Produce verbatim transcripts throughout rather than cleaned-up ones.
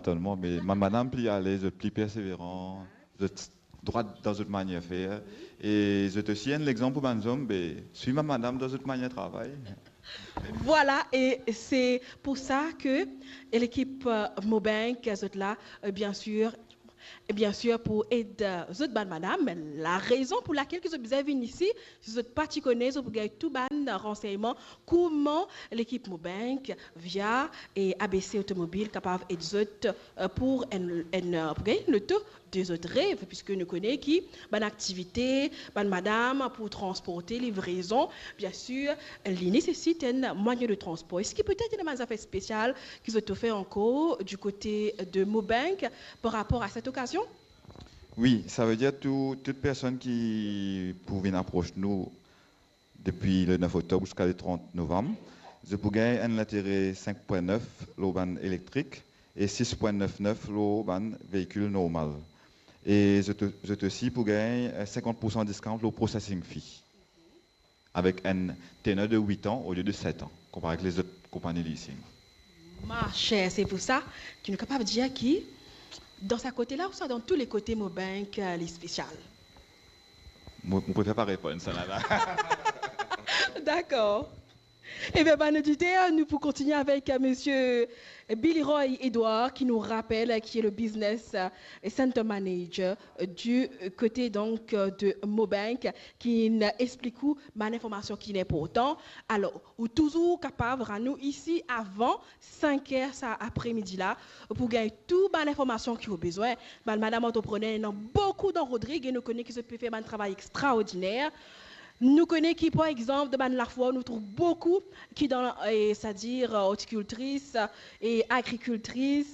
Totalman, me bann madam pli alez, zot pli perseveran, zot drwat dan zot manier fer, e zot osi enn lexanp pou bann zom, be, swiv bann madam dan zot manier travay. Vwala, e se pou sa ke lekip, euh, Mobank, zot la, euh, bien sir, bien sir, pou ed, euh, zot bann madam. La rezon pou lakel ki zot bizin vinn isi, si zot pa ti kone, zot pou gagn tou bann ransegnman kouma lekip Mobank, via e A B C Automobile, kapav ed zot, euh, pou enn, enn, euh, pou gagn loto de zot rev, piski nou kone ki bann aktivite, bann madam pou transporte, livrezon, bien sir, li nesesit enn mwayin de transpor. Eski petet ena bann zafer spesial ki zot ofer ankor du kote de Mobank par rapor a set okazion? Wi, savedir tou, tout personn ki pou vinn apros nou depi le nef oktob ziska le trant novam, zot pou gagn enn lintere sink pwin nef lor bann elektrik e sis pwin nef nef lor bann veikil normal. E zot, zot osi pou gagn, eh, sinkant poursan discount lor processing fee, avek enn teneur de wit an olie de set an, konpare ek lezot konpani leasing. Maser, se pou sa ki nou kapav dir ki dan sa kote la, ouswa dan tou le kote Mobank, euh, li spesial. Mo, mo prefer pa reponn sa la la. Dakor. Ebien, bann oditer, nou pou kontinie avek, euh, Misie Billy Roy Edouard ki nou rapel, euh, ki e le business, euh, center manager, euh, du kote, donk, euh, de Mobank, ki inn explik ou bann informasion ki inportan. Alor, ou touzour kapav rann ou isi avan sink er sa apremidi la pou gagn tou bann informasion ki ou bizin. Bann madam antreprener, ena boukou dan Rodrig e nou kone ki zot pe fer bann travay extraordiner. Nou kone ki, par exanp, dan bann lafoir, nou trouv boukou ki dan, eh, setadir, eh, ortikiltris, eh, agrikiltris,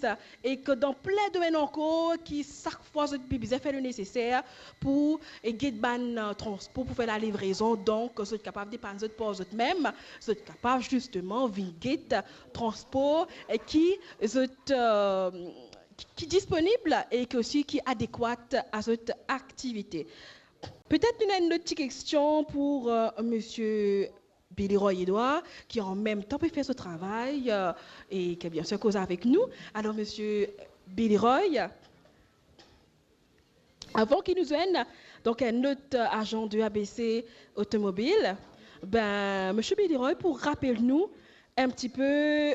e ki dan plin domenn ankor ki sak fwa zot pe bizin fer le neseser pou, eh, get bann, eh, transpor pou fer lalivrezon. Donk, zot kapav depann zot par zot mem, zot kapav zisteman vinn get transpor, eh, ki zot, eh, ki, ki disponib e ki osi ki adekwat a zot aktivite. Petet nou ena enn lot ti kestion pou, eh, Misie Billy Roy Edouard, ki an mem tan pe fer so travay, eh, e ki bien sir koz avek nou. Alor, Misie Billy Roy, avan ki nou zwenn, donk, enn lot, eh, azan de A B C Automobile, ben, Misie Billy Roy pou rapel nou enn tipe,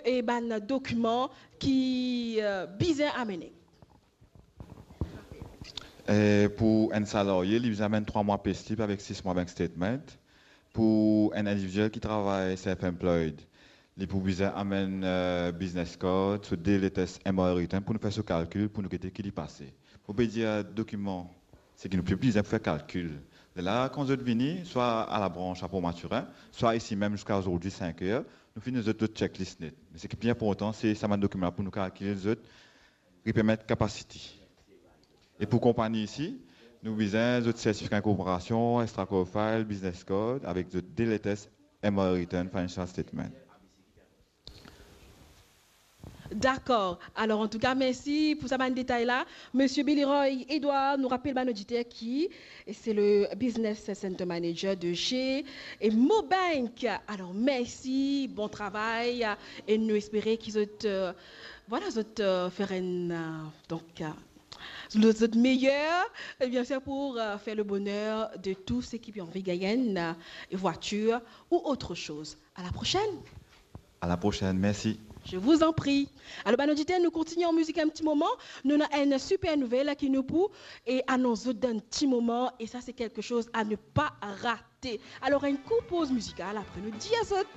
eh, bann dokiman ki, eh, bizin amene. Eh, pou enn salarie, li bizin amenn trwa mwa pay slip avek sis mwa bank statement. Pou enn individiel ki travay self-employed, li pou bizin amenn, eh, business card, so de letters M R return pou nou fer so kalkil, pou nou gete ki li pase. Mo pe dir dokiman, seki nou pli bizin pou fer kalkil. Lerla, kan zot vini, swa a labrans a Port Mathurin, swa isi mem ziska azordi sink er, nou finn donn zot zot checklist net. Me seki pli inportan, se sa bann dokiman la pou nou kalkil zot repairment capacity. E pou konpani isi, nou bizin zot sertifika inkorporasion, extra core file, business card, avek zot de letters M R return, financial statement. Dakor. Alor, antouka, mersi pou sa bann detay la. Misie Billy Roy Edouard, nou rapel bann oditer ki se le Business Center Manager de chez Mobank. Alor, mersi, bon travay, e nou espere ki zot, eh, vwala, zot, eh, fer enn, eh, donk, eh, zot, zot meyer, e bien sir pou, eh, fer le boner de tou seki pe anvi gagn enn, eh, vwatir ou autre chose. À la prochaine. À la prochaine, merci. Je vous en prie. Alor, bann oditer, nou kontinie an mizik enn ti moman. Nou ena enn siper nouvel ki nou pou, eh, anons zot dan enn ti moman. E sa, se quelque chose à ne pas rater. Alor, enn kour poz mizikal, apre nou dir zot.